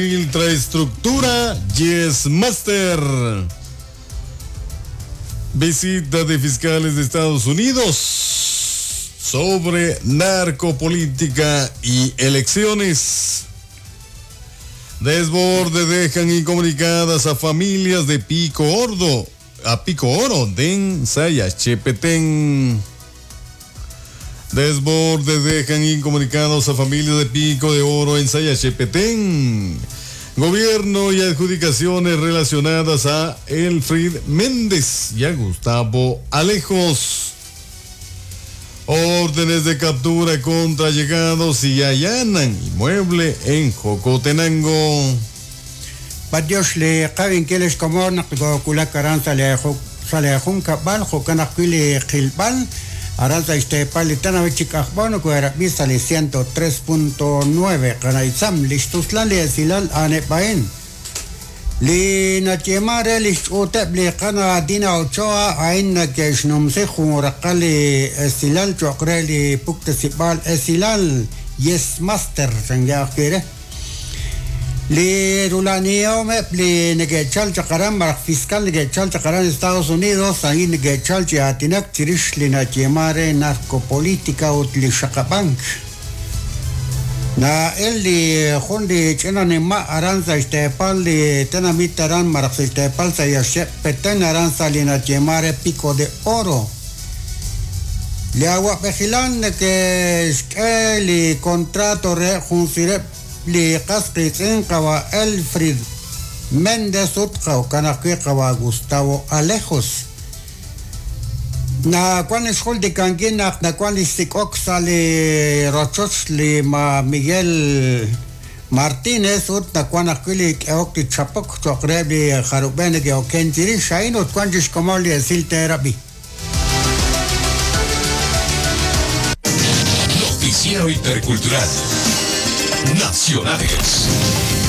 Infraestructura Yes Master. Visita de fiscales de Estados Unidos sobre narcopolítica y elecciones. Desborde dejan incomunicadas a familias de Pico Ordo, a Pico Oro de Sayachepetén. Desborde dejan incomunicados a familias de Pico de Oro en Sayachepetén. Gobierno y adjudicaciones relacionadas a Elfrid Méndez y a Gustavo Alejos. Órdenes de captura contra llegados y allanan inmueble en Jocotenango. B'antiox li qawinkil ex komon naq koowulak aran sa' lee sa' lee junkab'al, jo'kan ajwi' li qilb'al aran sa' xteepal li tenamit chi k'ajb'o nokohe'rab'i sa' li 103.9 Qana' Itzam. Li xtuslal li esilal a'aneb' a'in. Li nayeeman re li xch'uuteb' li Qana' Dina Ochoa a'in nake'xnumsi jun raqal li esilal cho'q re li puktesib'aal esilal Yes Master chanke ajwi' re. Li rula'anihomeb' li neke'chal chaq aran malaj fiscal neke'chal chaq aran Estados Unidos a'in neke'chal chi aatinak chirix li nayeeman re narcopolitica ut li xaqab'ank. Na'el li jun li ch'ina nima' aran sa' xteepal li tenamit aran malaj sa' xteepal sa' Yaxche' Petén aran sa' li nayeeman re Pico de Oro. Li awa'b'ejilal neke'xk'e li contrato re jun sireb' li qas qiitz'in qawa' Elfrid Méndez ut jo'kan ajwi' qawa' Gustavo Alejos. Nawan xjultikankil naq nawan li xsik'ok sa' li rochoch li ma Miguel Martínez ut nawan ajwi' li k'ehok li chapok cho'q reheb' li jarub'e neke'oken chirix a'in ut wan chi xkomon li esil teerab'i. Noticiero Intercultural. Nacionales.